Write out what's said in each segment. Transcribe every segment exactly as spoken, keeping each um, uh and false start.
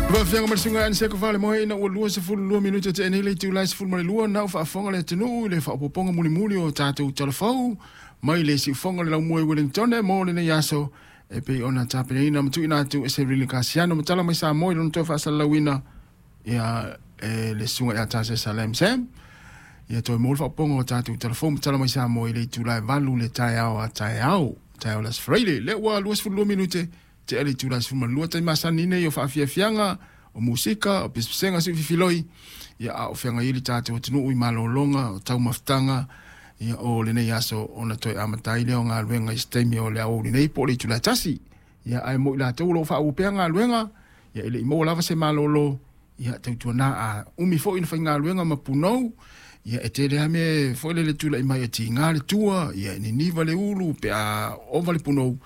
Faafofoga mai le susuga ia Aniseko Falemoe ina ua lua sefulu lua minute tea nei le itula e sefulu ma le lua na ua faafofoga le atunuu i le faaopoopoga mulimuli o tatou talafou mai le siufofoga o le laumua i Wellington mo lenei aso e pei ona tapenaina ma tuuina atu e Severino Kasiano ma tala mai Samoa i lona toe faasalalauina ia e le susuga ia Tase Salem Sam. Ia toe maua le faaopoopoga o tatou talafou ma tala mai Samoa i le itula e valu le taeao a taeao taeao le Aso Faraile lea ua lua sefulu lua minute tea le itula e sefulu ma le lua. Taimi masani nei o faafiafiaga o musika o pesepesega siufifiloi ia a o feagai ai le tatou atunuu i malologa o taumafataga ia o lenei aso ona toe amata ai lea o galuega i se taimi o le aoauli nei po o le itula e tasi. Ia ae mo i latou o lo o faaauau pea galuega ia e le i maua lava se malolo ia tautuana a umi foi na faigaluega ma punou ia e tele lava mea foi lele tulai mai e tiga le tua ia e niniva le ulu pe a ova le punou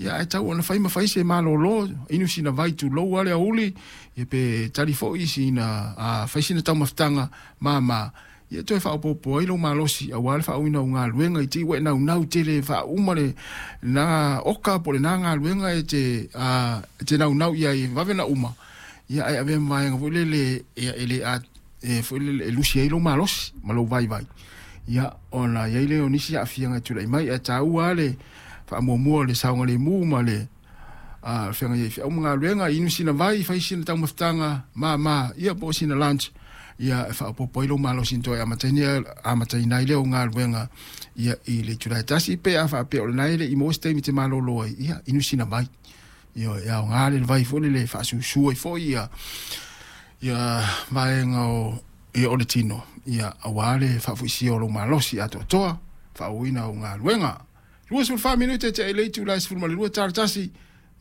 ia ae tau ona fai ma fai se malolo inu sina vai tulou lava le aoauli ia pe tali foi sina a fai sina taumafataga mama ia toe faaopoopo ai lou malosi aua le faaauauina o galuega i te i ua e naunau tele faauma le lena oka po o lena galuega e te a e te naunau i ai e vave ona uma ia ae avea ma vaega foi lele ia e le a e foi lele e lusi ai lou malosi ma lou vaivai ia ona i ai lea o nisi aafiaga e tulai mai ae taua lava le faamuamua o le saogalemu ma le a feagai ai i feau ma galuega inu sina vai fai sina taumafataga mama ia po o sina lunch ia e faaopoopo ai lou malosi toe amataina amataina ai lea o galuega ia i le itula e tasi pe a faapea o lena e le i maua se taimi e te malolo ai ia inu sina vai. Ia e aoga le vai foi lele e faasusu ai foi ia ia vaega o ia o le tino ia aua le faafoisia o lou malosi atoatoa faaauauina o galuega. luasefulu fa minute tea i le itula e sefulu ma le lua tala tasi.